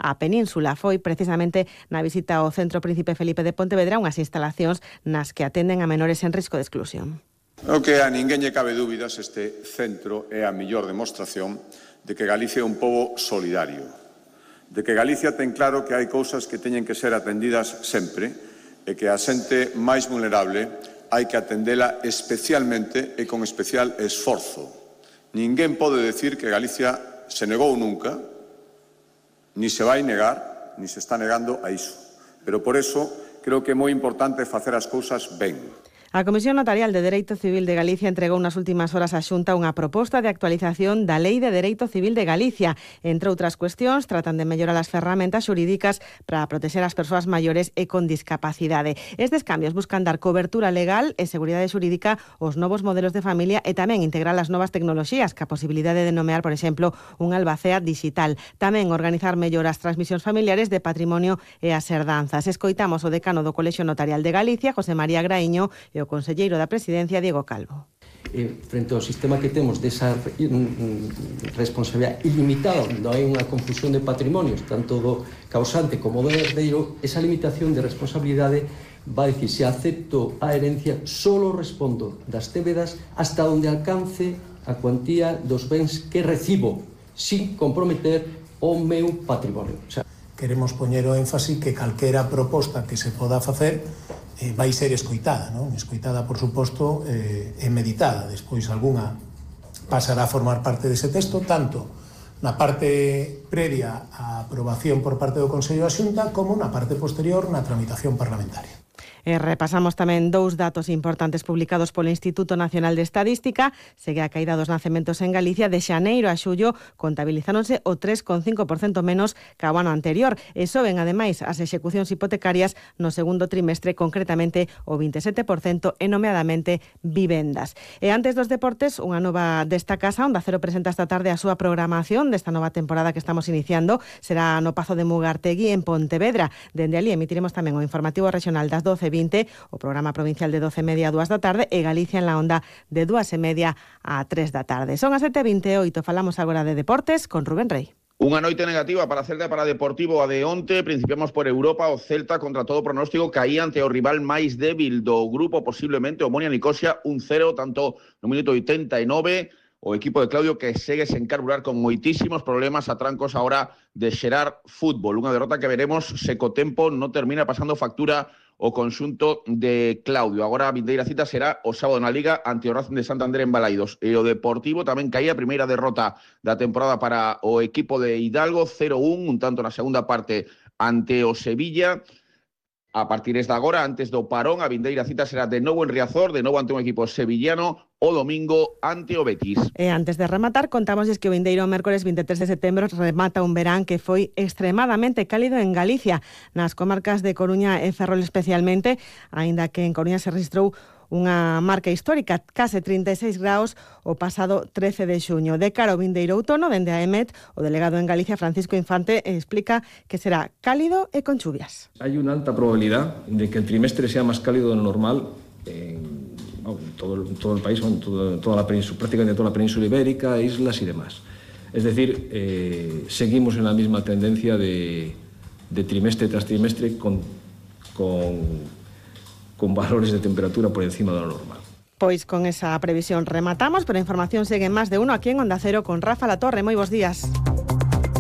á península. Foi precisamente na visita ao Centro Príncipe Felipe de Pontevedra unhas instalacións nas que atenden a menores en risco de exclusión. O que a ninguén lle cabe dúbidas, este centro é a mellor demostración de que Galicia é un pobo solidario, de que Galicia ten claro que hai cousas que teñen que ser atendidas sempre e que a xente máis vulnerable hai que atendela especialmente e con especial esforzo. Ninguén pode decir que Galicia se negou nunca, ni se vai negar, ni se está negando a iso. Pero por eso creo que é moi importante facer as cousas ben. A Comisión Notarial de Dereito Civil de Galicia entregou nas últimas horas á Xunta unha proposta de actualización da Lei de Dereito Civil de Galicia. Entre outras cuestións, tratan de mellorar as ferramentas xurídicas para proteger as persoas maiores e con discapacidade. Estes cambios buscan dar cobertura legal e seguridade xurídica aos novos modelos de familia e tamén integrar as novas tecnoloxías, ca posibilidade de nomear, por exemplo, un albacea digital. Tamén organizar mellor as transmisións familiares de patrimonio e as herdanzas. Escoitamos o decano do Colexio Notarial de Galicia, José María Graíño, e o conselleiro da Presidencia, Diego Calvo. Frente ao sistema que temos desa responsabilidade ilimitada, onde hai unha confusión de patrimonios, tanto do causante como do herdeiro, esa limitación de responsabilidade va a decir, se acepto a herencia, solo respondo das débedas hasta onde alcance a cuantía dos bens que recibo, sin comprometer o meu patrimonio. Queremos poñer o énfasis que calquera proposta que se poda facer vai ser escoitada, non? Escoitada, por suposto, e meditada. Despois, algunha pasará a formar parte dese texto, tanto na parte previa á aprobación por parte do Consello da Xunta como na parte posterior na tramitación parlamentaria. Repasamos tamén dous datos importantes publicados polo Instituto Nacional de Estadística. Segue a caída dos nacementos en Galicia. De xaneiro a xullo contabilizáronse o 3,5% menos que o ano anterior. E soben, ademais, as execucións hipotecarias no segundo trimestre, concretamente o 27%, e nomeadamente vivendas. E antes dos deportes, unha nova desta casa, Onda Cero presenta esta tarde a súa programación desta nova temporada que estamos iniciando. Será no Pazo de Mugartegui, en Pontevedra. Dende ali emitiremos tamén o informativo regional das 12:20, o programa provincial de 12:30 a 2 da tarde e Galicia en la onda de 2:30 a 3 da tarde. Son as 7:28, falamos agora de deportes con Rubén Rey. Unha noite negativa para Celta e para Deportivo a de onte. Principiamos por Europa. O Celta, contra todo pronóstico, caía ante o rival máis débil do grupo, posiblemente o Omonia Nicosia, 1-0, tanto no minuto 89. O equipo de Claudio que segue sen carburar con moitísimos problemas a trancos ahora de xerar fútbol. Unha derrota que veremos se co tempo non termina pasando factura o conxunto de Claudio. Agora a vindeira cita será o sábado na Liga ante o Racing de Santander en Balaidos. E o Deportivo tamén caía a primeira derrota da temporada para o equipo de Hidalgo, 0-1, un tanto na segunda parte ante o Sevilla. A partir de agora, antes do parón, a vindeira cita será de novo en Riazor, de novo ante un equipo sevillano, o domingo ante o Betis. E antes de rematar, contámosles que o vindeiro mércores 23 de setembro remata un verán que foi extremadamente cálido en Galicia, nas comarcas de Coruña e Ferrol especialmente, aínda que en Coruña se registrou unha marca histórica, case 36 graus o pasado 13 de xuño. De cara ao vindeiro outono, dende a EMET, o delegado en Galicia, Francisco Infante, explica que será cálido e con chuvias. Hay una alta probabilidad de que el trimestre sea más cálido de lo normal en todo el país, prácticamente toda la península ibérica, islas y demás. Es decir, seguimos en la misma tendencia de trimestre tras trimestre con valores de temperatura por encima de lo normal. Pois con esa previsión rematamos, pero a información segue en Más de Uno aquí en Onda Cero con Rafa Latorre. Moi bons días.